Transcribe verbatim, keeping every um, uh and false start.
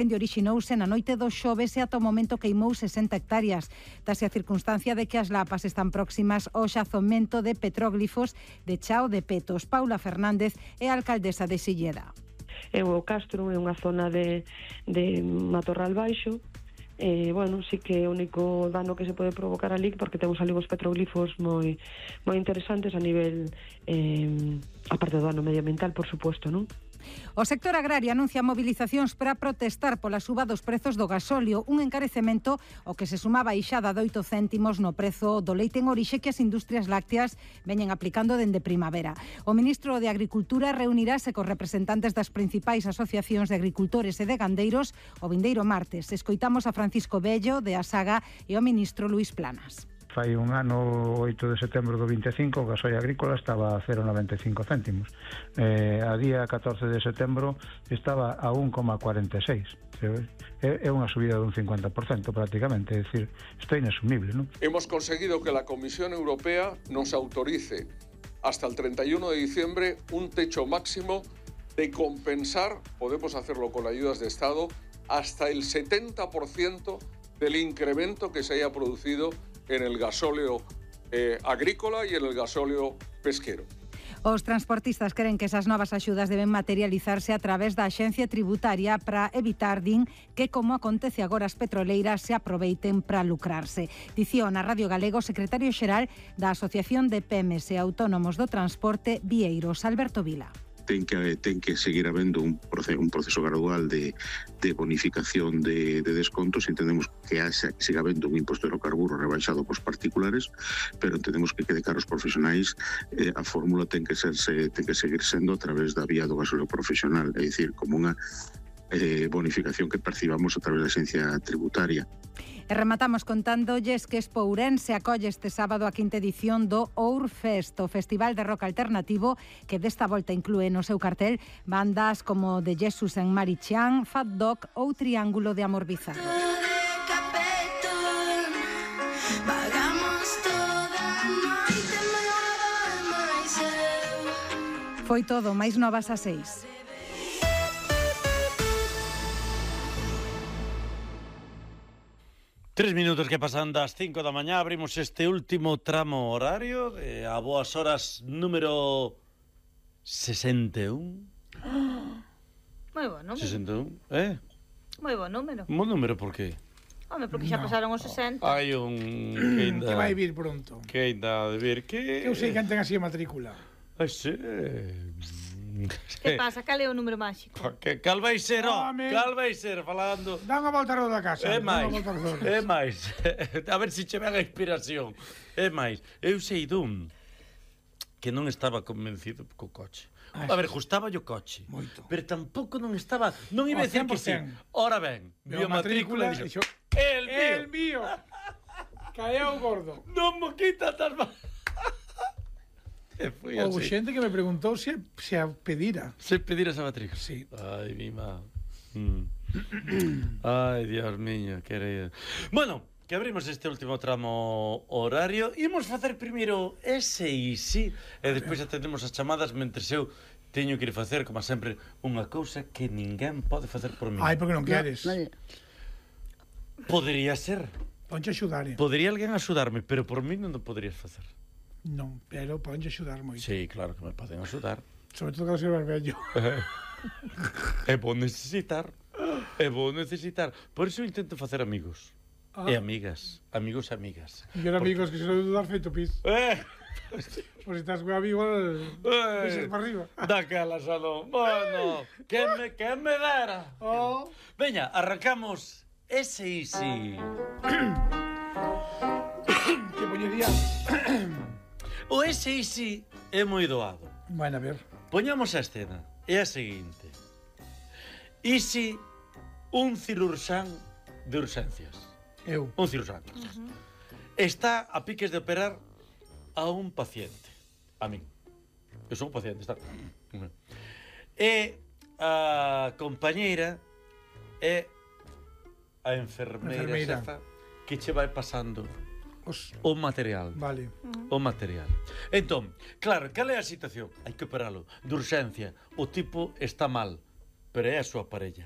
incendio orixinouse na noite do xoves e ata o momento queimou sesenta hectáreas. Dase a circunstancia de que as lapas están próximas ao xazomento de petróglifos de Chao de Petos. Paula Fernández é a alcaldesa de Silleda. É o Castro, é unha zona de, de matorral baixo. E, bueno, sí que é o único dano que se pode provocar ali, porque temos ali uns petroglifos moi moi interesantes a nivel, eh, aparte do dano medioambiental, por suposto, non? O sector agrario anuncia movilizacións para protestar pola suba dos prezos do gasóleo, un encarecemento ao que se sumaba a ixada de oito céntimos no prezo do leite en orixe que as industrias lácteas veñen aplicando dende primavera. O ministro de Agricultura reunirase cos representantes das principais asociacións de agricultores e de gandeiros o vindeiro martes. Escoitamos a Francisco Bello, de Asaga, e o ministro Luís Planas. Fai un ano, oito de setembro do vinte e cinco, o gasoil agrícola estaba a cero vírgula noventa e cinco céntimos. Eh, a día catorce de setembro estaba a un coma cuarenta e seis. É, é unha subida dun cincuenta por cento prácticamente, é dicir, isto é inasumible, non? Hemos conseguido que la Comisión Europea nos autorice hasta el treinta y uno de diciembre un techo máximo de compensar, podemos hacerlo con ayudas de Estado, hasta el setenta por ciento del incremento que se haya producido en el gasóleo eh, agrícola y en el gasóleo pesquero. Os transportistas creen que esas novas axudas deben materializarse a través da Axencia Tributaria para evitar, din, que, como acontece agora, as petroleiras se aproveiten para lucrarse. Dicía na Radio Galego o secretario xeral da Asociación de P M S e Autónomos do Transporte, Vieiros, Alberto Vila. Ten que, ten que seguir habendo un proceso, un proceso gradual de, de bonificación de, de descontos. Entendemos que haxa, siga habendo un imposto de hidrocarburo rebaixado pos particulares, pero entendemos que quede claro os profesionais, eh, a fórmula ten que, ser, se, ten que seguir sendo a través da vía do gasóleo profesional, é dicir, como unha eh, bonificación que percibamos a través da Axencia Tributaria. E rematamos contándolles que Expo Ourense acolle este sábado a quinta edición do Ourfest, o festival de rock alternativo que desta volta inclúe no seu cartel bandas como The Jesus en Marichán, Fat Dog ou Triángulo de Amor Bizarro. Foi todo, máis novas a seis. Tres minutos que pasan das cinco da mañá, abrimos este último tramo horario eh, a boas horas número sesenta e un. Moi bo número. sesenta e un, eh? Moi bo número. Bo número por qué? Home, porque xa No. pasaron os sesenta. Hai un que ainda Que vai vir pronto. Que ainda de vir que Que eu sei que ten así a matrícula. Ai, sí. Que pasa? Cal é o número máxico? Que cal vai ser, ó, Home. cal vai ser falando. Dá unha volta ao da casa. É dá máis, unha volta ao redor. é máis. A ver se che ven a inspiración. É máis, eu sei dun que non estaba convencido co coche. A ver, gustaba o coche. Moito. Pero tampouco non estaba, non iba a O decir que sí. cen por cen. Ora ben, Veo vio matrícula e dixo, dixo, el mío. El mío. Caeu gordo. Non mo quita tas mal. E foi Ou así. xente que me preguntou se, se a pedira. Se pedir esa matrícula. Sí. Ai, mi má. Mm. Ai, Dios miño, querido. Bueno, que abrimos este último tramo horario. Imos facer primeiro ese e sí. E despois atendemos as chamadas mentre eu teño que ir facer, como sempre, unha cousa que ninguén pode facer por mí. Ai, porque non queres. Vale. Podería ser. Ponche axudar. eh. Podería alguén axudarme, pero por mí non o poderías facer. Non, pero ponche axudar moito. Sí, claro que me poden axudar. Sobre todo que ser vello. É bo necesitar. É bo necesitar. Por iso intento facer amigos. Ah. E amigas. Amigos e amigas. E eu amigos que se lo dudar feito pis. Eh, Por si estás con amigo, eh, pisas para arriba. daquela xa non. Bueno, que me, que me dera. Oh. Veña, arrancamos ese easy. Que poñería. O ese easy é moi doado. Bueno, a ver. Poñamos a escena. É a seguinte. Easy, un cirurxán de urxencias. Eu. Un cirurxán. Uh-huh. Está a piques de operar a un paciente. A min. Eu son un paciente, está. E a compañeira é a enfermeira, Enfermeira. xefa que che vai pasando Os... o material. Vale. O material. Entón, claro, cal é a situación? Hai que operalo de urxencia. O tipo está mal, pero é a súa parella.